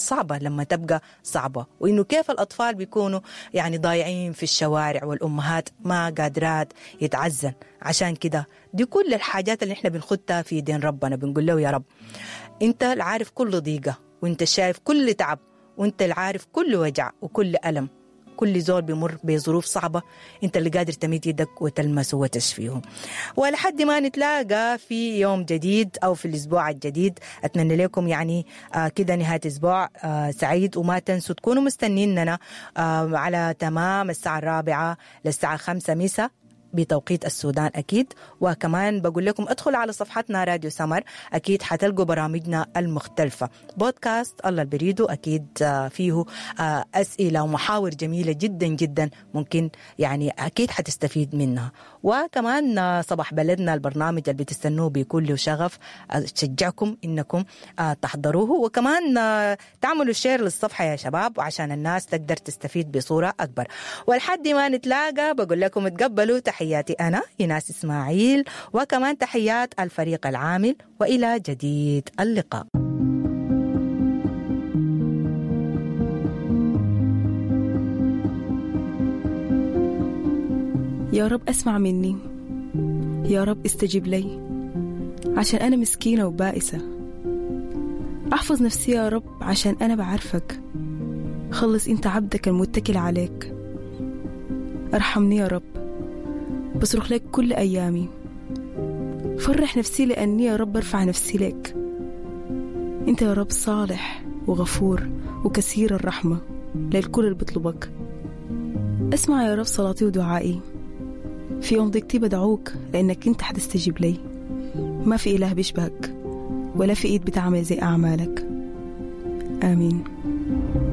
صعبة لما تبقى صعبة، وإنه كيف الأطفال بيكونوا يعني ضايعين في الشوارع والأمهات ما قادرات يتعزن. عشان كده دي كل الحاجات اللي احنا بنخدها في دين ربنا، بنقول له يا رب انت العارف كل ضيقة، وانت شايف كل تعب، وانت العارف كل وجع وكل ألم، كل زول بيمر بظروف صعبة انت اللي قادر تمد يدك وتلمسه وتشفيه. ولحد ما نتلاقى في يوم جديد او في الاسبوع الجديد، اتمنى لكم يعني كده نهاية اسبوع سعيد، وما تنسوا تكونوا مستنيننا على تمام الساعة 4 للساعة 5 مساء بتوقيت السودان أكيد. وكمان بقول لكم ادخلوا على صفحتنا راديو سمر، أكيد حتلقوا برامجنا المختلفة، بودكاست الله البريدو أكيد فيه أسئلة ومحاور جميلة جدا جدا ممكن يعني أكيد حتستفيد منها. وكمان صباح بلدنا البرنامج اللي بتستنوه بكل شغف، أشجعكم إنكم تحضروه، وكمان تعملوا شير للصفحة يا شباب عشان الناس تقدر تستفيد بصورة أكبر. ولحد ما نتلاقى بقول لكم تقبلوا تحياتي أنا إيناس إسماعيل، وكمان تحيات الفريق العامل، وإلى جديد اللقاء. يا رب أسمع مني، يا رب استجب لي، عشان أنا مسكينة وبائسة. أحفظ نفسي يا رب عشان أنا بعرفك. خلص أنت عبدك المتكل عليك. أرحمني يا رب، بصرخ لك كل أيامي. فرح نفسي لأني يا رب أرفع نفسي لك. أنت يا رب صالح وغفور وكثير الرحمة للكل اللي بيطلبك. أسمع يا رب صلاتي ودعائي. في يوم ضيقتي بدعوك لأنك أنت حتستجيب لي. ما في إله بيشبهك ولا في إيد بتعمل زي أعمالك. آمين.